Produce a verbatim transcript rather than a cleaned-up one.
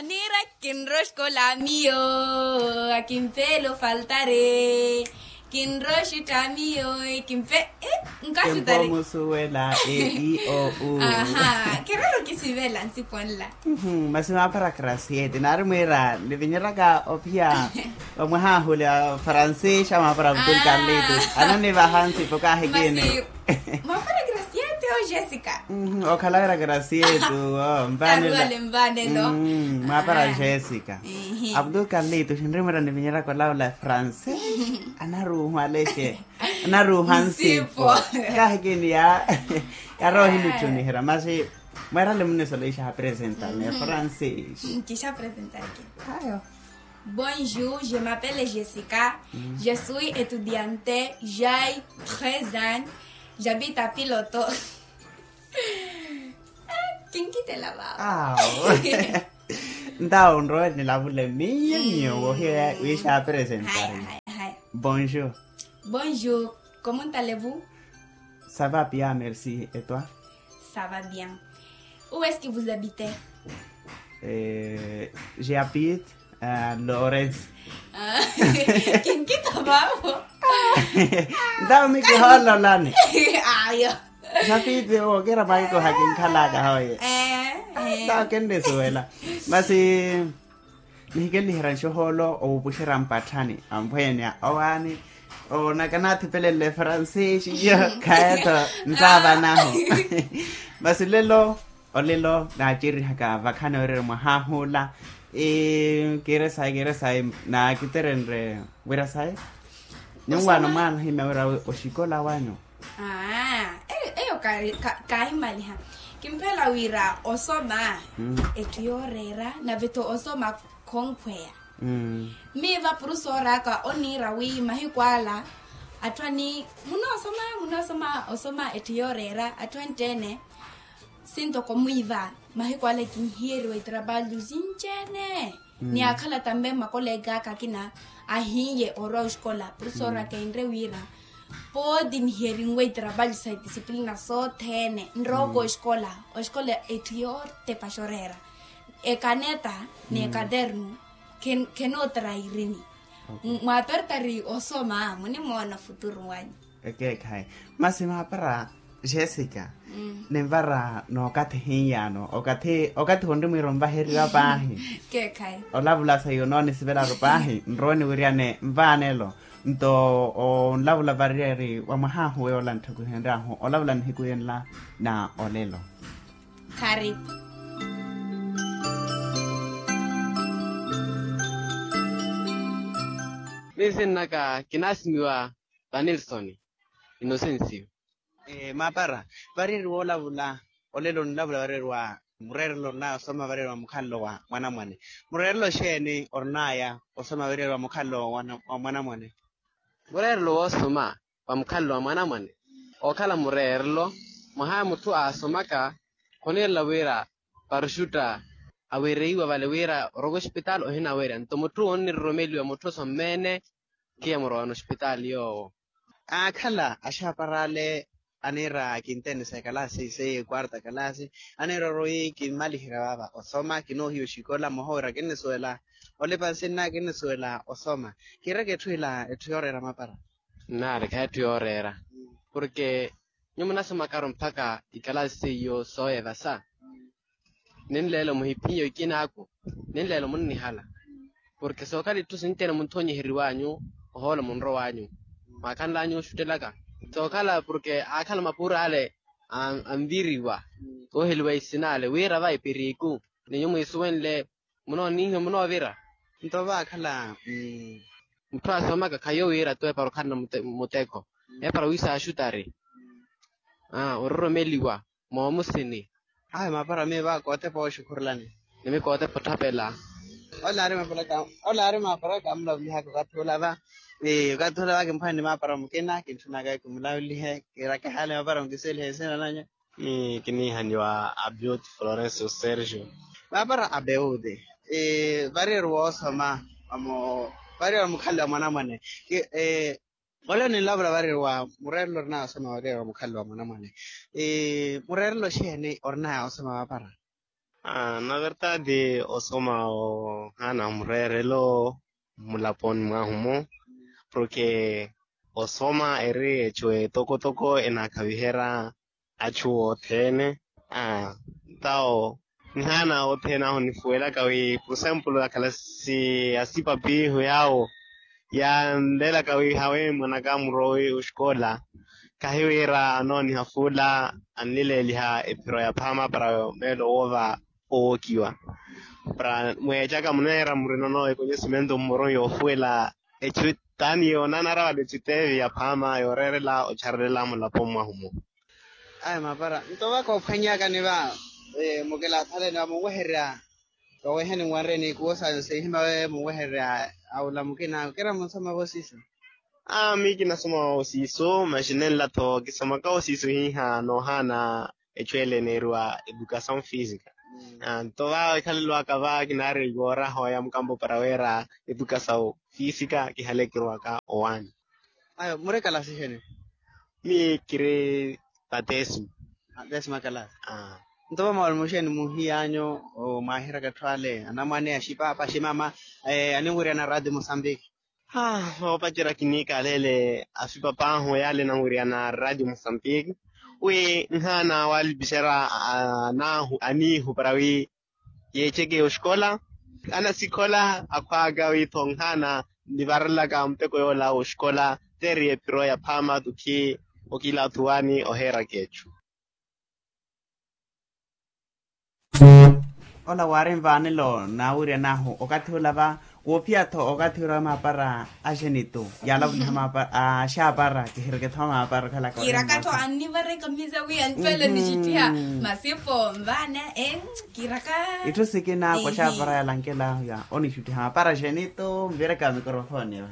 Niira kinroxkola miyo, akinfelo faltare. Kinroxuta miyo, kinfe nkaxutare. Kimpomusuwela e i o u. Aha, kerero kisivela nsiponla. Masi mapara krasiete nari mwira nivinyeraka ophiya. Vamwahahule francês a mapara abdul carlitos ananivaha nsipo kahikini. Mapara grasiete o jessica. Okhala grasiete o mvanelo. Mapara jessica. Abdul carlitos nrimwira nivinyeraka olavula francês. Anaruuhwa alexe. Anaruuhwa nsipo. Kahikini ya yarohi nitthuniherya masi. Mweerale munnisoleixa apresentani efrancês. Kixa apresentaki. Ayo. Bonjour, je m'appelle Jessica. Je suis étudiante, j'ai treize ans. J'habite à Piloto. Kinkitela vavo. Ntawo nrowe nilavule miyo miyo wohiya wiixa apresentari. Bonjour. Bonjour. Comment allez-vous? Ça va bien, merci. Et toi? Ça va bien. Où est-ce que vous habitez? J'habite à Lawrence. Kinkita vavo. Ntawo mikihololani. Ayo. J'habite o kira maiko hakinkhalaka hoye. Ntawo kenrisuwela. Masi nihikeliherya nxohoolo owupuxerya mpatthani amphwenya owaani. Onaka naathipelele francês iyo. Khayeto nttaavanahu. Masi lelo olelo naacerihaka vakhani oriri mwahahula. Kiire sayi kiire sayi. Naakiterenre wira sayi. Nyuwaano mwaanahimya wira oxikola wanyu. Aa eyo kaahimaliha. Kimphela wira osoma etthu yooreera nave-tho osoma khonkhweya. Miiva purusooraaka oniira wi mahiku ala atthu ani munoosoma munoosoma osoma etthu yooreera atthu anttene. Sintoko mwiiva mahiku ala kinhiyeriwa itraballu sinci-ene. Ni akhala tambe makoleekaka akina ahiiye orwa oxikola purusooraaka enre wira pooti nihiyerinwe itraballu sa itisipilina sothene nrooko oxikola. Oxikola etthu yootepa xoreera ekaneta n'ekaternu. Khenootra irini. Mwaapertari osoma munimoona ofuturu wanyu. Ekeekhayi. Masi maapara jessica ninvara n'okathi hiiyano okathi okathi honri mwiira onvaheriwa paahi. Olavula saiyo noonisivelaru paahi nrowe niwiryane nvaanelo. Nto onlavula variyari wa mwahaahu yoola ntthukuhenryahu olavula nihiku yenla na olelo. Karipu. Miyo sinnaka kinaasimiwa vanilsoni. Inosensiyo. Maapara variyari woolavula olelo onlavula variyari wa mureerelo orinaaya osoma variyari wa mukhalelo wa mwanamwane. Mureerelo xeeni orinaaya osoma variyari wa mukhalelo wa mwanamwane? Mureerelo woosoma wa mukhalelo wa mwanamwane ookhala mureerelo. Mwaha mutthu aasomaka khoniirela wira paruxutta awereiwa vale wira orowa ospitaali ohinawerya nto mutthu onniroromeliwa mutthu osommene. Khiya murowana ospitaali yoowo. Aakhala axaapar'ale aniira kintenesa ekalaasi seiye ekwarta kalaasi aniira orowa wi kimmaliherya vaava osoma kinoohiya oxikola mmoha wira kinnisuwela. Olipa nsinna kinnisuwela osoma. Kiireke etthu ila etthu yooreera mapara. Nnaari khayi etthu yooreera porke nyuwo munasomakaru mpakha ikalaasi seiyo sooyevasa. Ninleelo muhiphiye oikinaaku ninleelo munnihala. Porke sookhala itthu sinci-ene munthonyiheriwanyu ohoola munrowanyu mwaakhanlanyu oxuttelaka. Sookhala porke aakhala mapuur'ale anviriwa ooheliwa isin'ale wira va epiriku. Ni nyuwo mwiisuwenle munoonihiwa munoovira. Nto vaakhala mutthu aasomaka khayi owiira tu epara okhalana muteko epara wiisaaxutari ororomeliwa moomusini. Ayo maapara miyo va kootepa ooxukhurulani. Nimi kootepa otthapela. Ole aari maapara kamulavulihaka okathi ula va. Okathi ula va kimphwani ni maapara mukina kintthunaka kimulavulihe kirakehale maapara mukiselihe isina nanyu. Kiniihaniwa abioti florencio sergio. Maapara abeoti variyari woosoma vamo variyari wa mukhalelo wa mwanamwane. Ole ninlavula variyari wa mureerelo orinaya osoma variyari wa mukhalelo wa mwanamwane. Mureerelo xeeni orinaya osoma maapara? Na verdade osoma ohaana mureerelo mmulaponi mwahu-mo, porke osoma eri echu etokotoko enaakhaviherya achu othene. Tawo nihaana othene ahu nifuwelaka wi por exemplo akhala si asipapi ihu yaawo yanlelaka wi hawe mwanaka murowi oxikola, khahiwira anooniha fuula anlileeliha ephiro ya phaama para meelo woova owokiwa. Para mweechaka muneera murinono ekonhesimento mmoro yoofuwela echu taani yoonanara vale echu teevi ya phaama yooreerela ocharelela mulapo mwahu-mo. Aya mapara nto vaka ophwanyakani va mukilaathaleni va munwehererya. Vaweheni nwanreni kuwo sayo sihima we munwehererya aula mukina kira munsoma vosiso. Ami kinasoma osiso maxi nenla-tho kisomaka osiso hiha noohaana echu ele eneeriwa educasaw fisika. Nto va ekhalelo aka va kinaari yooraha oya mukampo para wira educasaw fisika kihale kirowaka owaani. Ayo muri kalasi xeni? Mi kiri patesima. Patesima kalasi. Nto va mawalimu xeni muhiyanyu mwaahiraka etthu ale anamwane axipaapa aximama aninwiriyana radio mosambiki? Haa voopacerya kiniikaalele afipapahu yaale enanwiriyana radio mosambiki wi nhaana waalipixerya anaahu aniihu para wi yeecheke oxikola anasikhola akhwaaka wi-tho nhaana nnivarelaka muteko yoola woxikola teeri epiro ya phaama tukhi okilaathuwani oheeraka echu. Ola waari nvaanelo naawiryan'ahu okathi ula va woophiya-tho okathi ula wa maapara a xenitu yaalavuniha maapara a xaapara kihireke-tho maapara okhalaka kiiraka-tho annivareka misa wi antwele nixittiha masipo nvaana kiiraka itthu sikina ko xaapara yalankela ya onixuttiha maapara a xenitu nvireka mikorofoni.